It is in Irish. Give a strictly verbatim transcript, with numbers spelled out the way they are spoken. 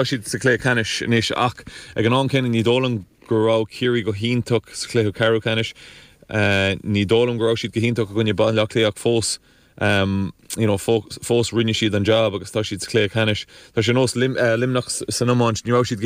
Siad sa chluiche ceannais anois ach ag an am céanna ní dóigh liom go raibh Ciarraí go hiontach sa chluiche ceathrú ceannais uh, ní dóigh liom go raibh siad go hiontach i gcoinne Baile Átha Cliath fós um, you know, fós rinne siad an job agus tá siad sa chluiche ceannais Tá sé nós Lim, uh, Luimneach san iomáint ní raibh siad